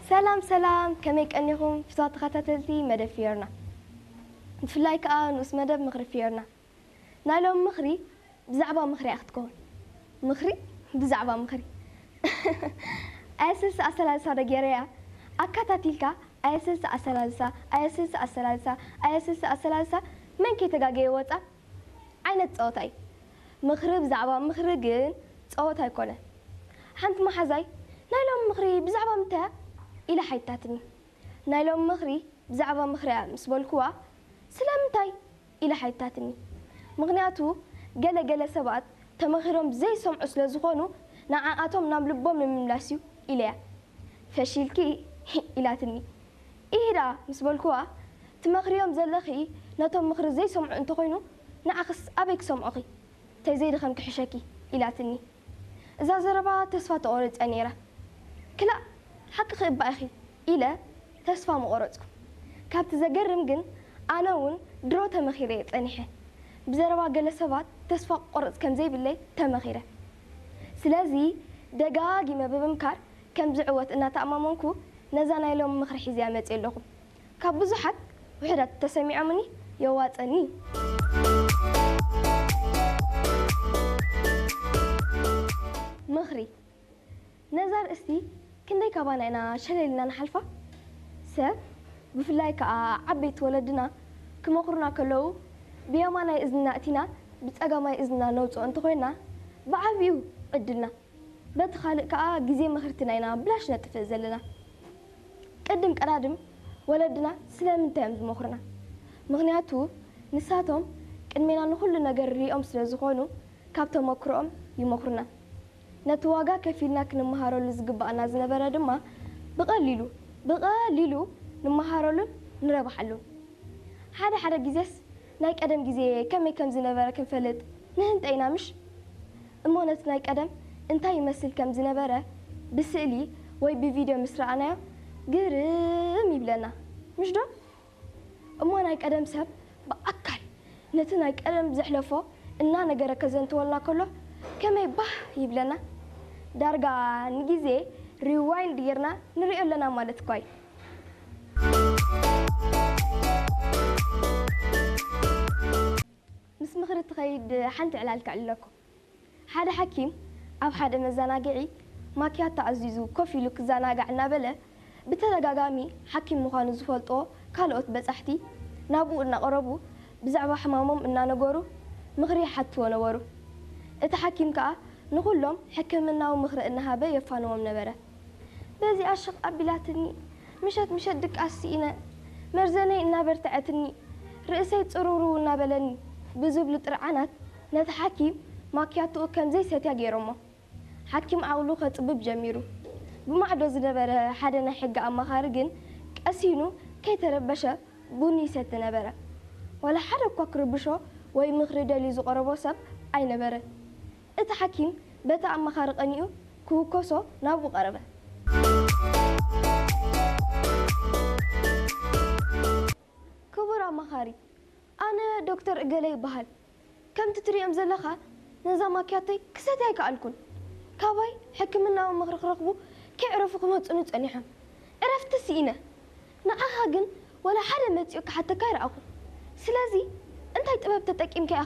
ሰላም ሰላም፣ ከመይ ቀኒኹም ፍትዋት ተኸታተልቲ መደብ ፊዮርና፣ ብፍላይ ከኣ ንኡስ መደብ ምኽሪ ፊዮርና። ናይ ሎም ምኽሪ ብዛዕባ ምኽሪ እያ ክትከውን። ምኽሪ ብዛዕባ ምኽሪ። ኣየስልሲ ኣሰላልሳ ዶ ገይረያ? ኣካታቲልካ ኣየስልሲ ኣሰላልሳ፣ ኣየስልሲ ኣሰላልሳ፣ ኣየስልሲ ኣሰላልሳ፣ መን ከይተጋገየ ወጻ ዓይነት ጸወታ እዩ። ምኽሪ ብዛዕባ ምኽሪ ግን ጸወታ ኣይኮነን። ሓንቲ መሓዛይ፣ ናይ ሎም ምኽሪ ብዛዕባ ምንታይ እያ? ኢላ ሓይታትኒ። ናይ ሎም ምኽሪ ብዛዕባ ምኽሪ እያ ምስ በልኩዋ፣ ስለምንታይ? ኢላ ሓይታትኒ። ምኽንያቱ፣ ገለ ገለ ሰባት ተመኺሮም ዘይሰምዑ ስለ ዝኾኑ፣ ንዓኣቶም ናብ ልቦም ንምምላስ እዩ ኢለያ። ፈሺልኪ ኢላትኒ። ኢሂ ደኣ ምስ በልኩዋ፣ ትመኽርዮም ዘለኺ ነቶም ምኽሪ ዘይሰምዑ እንተኾይኑ፣ ንዓኽስ ኣበይ ክሰምዑኺ? ተዘይድኸም ክሕሸኪ ኢላትኒ። እዛ ዘረባ ተስፋ ተቖሪጸ ነይረ። ክላእ፣ ሓቅኺ እባ ኢኺ ኢለ ተስፋ ምቖረጽኩ። ካብቲ ዘገርም ግን፣ ኣነ እውን ድሮ ተመኺረ እየ ጸኒሐ። ብዘረባ ገለ ሰባት ተስፋ ክቆርጽ ከም ዘይብለይ ተመኺረ። ስለዚ ደጋጊመ ብምምካር ከም ዝዕወት እናተኣማመንኩ ነዛ ናይ ሎሚ ምኽሪ ሒዘያ መጽየ ኣለኹ። ካብ ብዙሓት ውሑዳት ተሰሚዖምኒ የዋጸኒ። ምኽሪ። ነዛ ርእስቲ ክንደይ ካባና ኢና ሸለል ኢልና ንሓልፋ? ሰብ፣ ብፍላይ ከኣ ዓበይቲ ወለድና ክመኽሩና ከለዉ፣ ብየማናይ እዝንና እቲና ብጸጋማይ እዝንና ነውጽኦ እንተኾይንና፣ ብዓቢኡ ዕድልና። በቲ ካልእ ከኣ ግዜ ምኽርትና ኢና ብላሽ ነጥፍእ ዘለና። ቅድም ቀዳድም ወለድና ስለምንታይ እዮም ዝመኽሩና? ምኽንያቱ ንሳቶም ቅድሜና ንኹሉ ነገር ሪኦም ስለ ዝኾኑ ካብ ተመክሮኦም ይመኽሩና። ነቲ ዋጋ ከፊልና ክንመሃረሉ ዝግባኣና ዝነበረ ድማ ብቐሊሉ፣ ብቐሊሉ ንመሃረሉን ንረብሓሉን። ሓደ ሓደ ግዜስ ናይ ቀደም ግዜ ከመይ ከም ዝነበረ ክንፈልጥ ንህንጠ ኢና ምሽ? እሞ ነቲ ናይ ቀደም እንታይ ይመስል ከም ዝነበረ ብስእሊ ወይ ብቪድዮ ምስ ረኣናዮ ግርም ይብለና ምሽ ዶ? እሞ ናይ ቀደም ሰብ ብኣካል ነቲ ናይ ቀደም ዘሕለፎ እናነገረ ከዘንትወልና ከሎ ከመይ ባህ ይብለና። ዳርጋ ንግዜ ሪዋይንድ ጌርና ንሪኦ ኣለና ማለት እኳ እዩ። ምስ ምኽሪ ትኸይድ ሓንቲ ዕላል ከዕልለኩም። ሓደ ሓኪም ኣብ ሓደ መዘናግዒ ማክያቶ ኣዚዙ ኮፍ ኢሉ ክዘናጋዕ እናበለ ብተደጋጋሚ ሓኪም ምዃኑ ዝፈልጦ ካልኦት በጻሕቲ ናብኡ እናቐረቡ ብዛዕባ ሕማሞም እናነገሩ ምኽሪ ይሓትዎ ነበሩ። እቲ ሓኪም ከኣ ንኹሎም ሕክምናዊ ምኽሪ እናሃበ የፋንዎም ነበረ። በዚኣ ሽቕ ኣቢላትኒ፣ ምሸት ምሸት ድቃስ ስኢነ፣ መርዘነይ እናበርትዐትኒ፣ ርእሰይ ጽርውርው እናበለኒ ብዝብሉ ጥርዓናት ነቲ ሓኪም ማክያቶኡ ከም ዘይሰትያ ገይሮሞ። ሓኪም ዓቕሉ ከጽብብ ጀሚሩ። ብማዕዶ ዝነበረ ሓደ ናይ ሕጊ ኣማኻሪ ግን ቀሲኑ ከይተረበሸ ቡን ይሰቲ ነበረ። ዋላ ሓደ እኳ ክርብሾ ወይ ምኽሪ ደልዩ ዝቐረቦ ሰብ ኣይነበረን። እቲ ሓኪም በቲ ኣማኻሪ ቀኒኡ ክውከሶ ናብኡ ቀረበ። ክቡር ኣማኻሪ፣ ኣነ ዶክተር እገለ ይበሃል። ከምቲ ትሪኦም ዘለኻ ነዛ ማክያቶይ ክሰትያ ኣይከኣልኩን። ካባይ ሕክምናዊ ምኽሪ ክረኽቡ ከየዕረፉ ክመጹኒ ጸኒሖም። ዕረፍቲ ስኢነ። ንዓኻ ግን ዋላ ሓደ መጺኡ ክሓተካ ኣይረኣኹን። ስለዚ እንታይ ጥበብ ተጠቂምካ ኢኻ